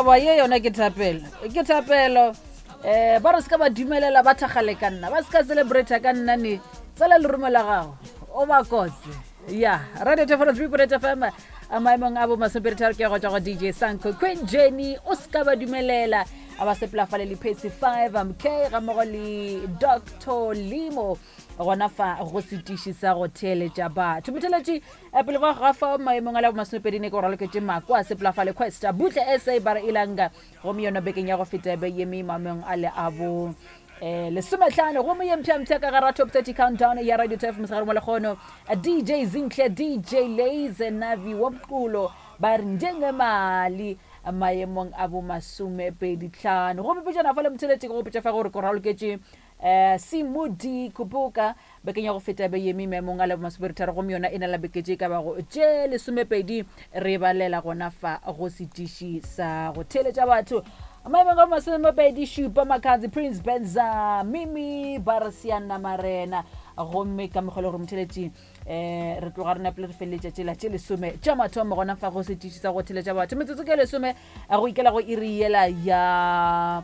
Awa ye yona ke thapelo, ke thapelo. Um ba re se ka ba dumelela ba thakgale ka nna, ba se ka celebrata ka nna ne. Tsala lerumo la gago, o ba kotse. Ya, Radio Thefolo 3.8 FM, a maemong a bo masomepeditharo ke go tšwa go DJ Sanko Queen Jenny, o se ka ba dumelela a ba sepela fale le Patsy 5 MK ga mmogo le Dr. Limo gona fa go setiši sa go theeletša batho. Motheeletši eh, pele ga ga fao maemong a la bomasomepedi ne ke go raloketše Makwa a sepela fale Questa Butle SA Bara Ilanga gomme yona bekeng ya go feta be yeme maemong a le a bo eh, lesometlhano gomme ye mpsha-mpsha ka gara top 30 countdown ya Radio Turf mosegare mo lekgono DJ Zinhle DJ Laze Navi wa Mqulo ba re njengemali maemong a bo masomepedi tlhano gomme pejana fa le motheletše ke go petša fa gore ko raloketše um Simudi Kupuka bekeng ya go feta be yeme maemong a la bomasomepeditharo gomme yona e na la beke tše ka bago tše lesomepedi re balela gona fa go setiši sa go theeletša batho maemong a bomasomepedi šupa Makhadzi Prince Benza Mimi Barsiana Marena gomme ka mokgwa le gore motheletši um re tloga re napile re feleletša tšela tše lesome tša mathomo gona fa go setiši sa go theletša batho metsotso ke lesome go ikela go iri yela ya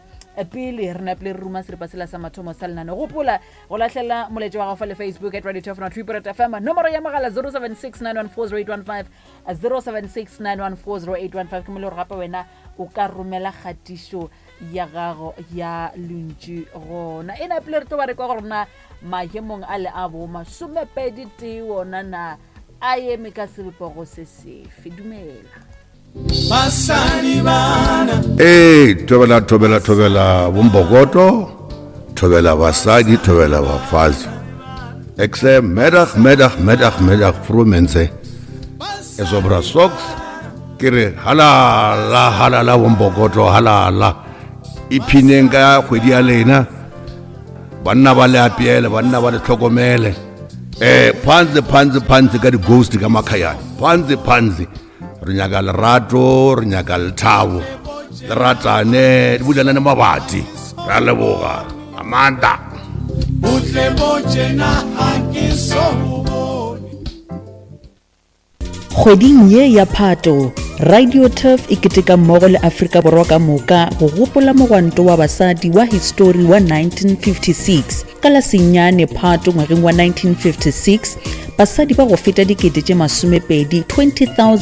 pele re napile re ruma seripa sela sa mathomo sa lenane gopola go lahlela moletše wa gago fa le Facebook at Radio 2 3 FM nomoro ya mogala 0769140815 0769140815 ke mo le gore gape wena o ka romela kgatišo ya gago ya lentšu gona e napile re tlo ba re kwa gore na maemong a le a bo masomepedi tee wona na a eme ka sebopego se sefe dumela Basadi bana. Ee, thobela thobela thobela bombokoto, thobela basadi, thobela bafazi. Ek sê middag, middag, middag, middag, vroeë mense. Is op socks. Ke re halala halala bombokoto halala. Iphineng ka kgwedi ya lena. Banna ba le apeele, banna ba le tlhokomele. Eh, phansi phansi phansi ka di-ghost ka makhayane. Phansi phansi. Re nyaka lerato, re nyaka lethabo. Le ratane, di bulanane mabati. Re a leboga. Amanda. Butle bo tjena ha ke so bone. Kgweding ye ya Phato, Radio Turf e keteka mmogo le Afrika Borwa ka moka go gopola mogwanto wa basadi wa histori wa 1956. Ka la senyane Phato ngwageng wa 1956, basadi ba go feta dikete tše masomepedi 20,000.